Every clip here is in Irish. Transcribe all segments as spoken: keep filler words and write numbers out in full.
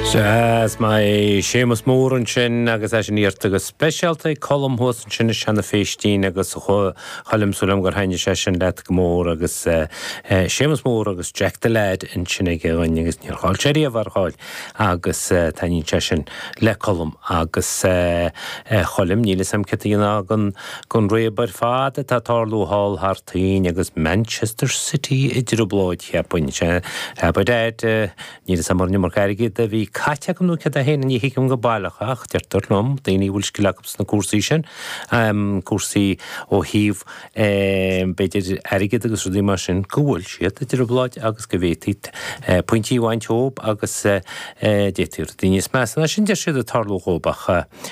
Sea, is maith Séamus Mór ansin agus é sin iarrta go speisialta ag Colm thuas ansin i Seanadh Phéistín agus a Choilm súil agam gur thaitnigh sé sin leat go mór agus Séamus Mór agus Jack the Lad ansin aige againn agus níor chaill sé riamh ar chaill agus taitníonn sé sin le Colm agus a Choilm níl fhios a'm céard a dhéanfá den den réab ar fad atá ag tarlú thall thar toinn agus Manchester City i dtrioblóid cheapfainn. Sea, ba dead níl fhios a'm an iomarca airgid a bhí caite acu nó céard é féin ní thuigim go baileach ach deirtear liom daoine a bhfuil scil acu sna cúrsaí sin, cúrsaí ó thaobh b'fhéidir airgead agus rudaí mar sin go bhfuil siad i dtrioblóid agus go bhféadfaí pointí a bhaint dhóibh agus d'fhéadfaí rudaí níos measa ná sin deir siad ag tarlú dhóibh ach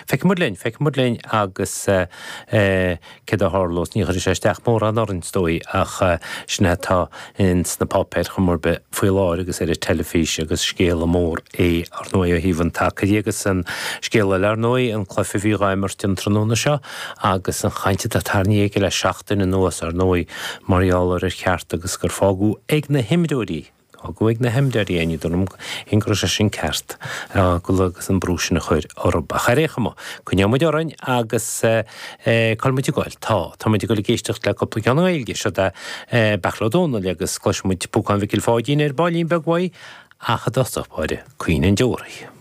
feicfidh muid linn, feicfidh muid linn agus céard a tharlós, ní chuirfidh sé isteach mórán orainn is dóigh ach sin é atá ins na páipéir chuma ar bith faoi láthair agus ar an teilifís agus scéala mór é ar ndóigh ó thaobh an tsacair dhe agus an scéal eile ar ndóigh an cluiche a bhí dhá imirt an tráthnóna seo agus an chaint atá tarraingthe aige le seachtain anuas ar ndóigh mar gheall ar ar cheart agus gur fágadh ag na himreoirí fágadh ag na himreoirí é ní dóigh liom go raibh sé sin ceart agus an brú sin a chur orthu. Ach ar aon chuma, coinneoidh muid orainn agus cá bhfuil muid ag goil? Tá, tá muid ag goil ag éisteacht le cúpla ceann i nGaeilge, seo é Beairtle Ó Domhnaill agus cloisfidh muid Púcán Mhicil Pháidín ar baillín beag uaidh ach i dtosach báire, Caoineadh an Deoraí.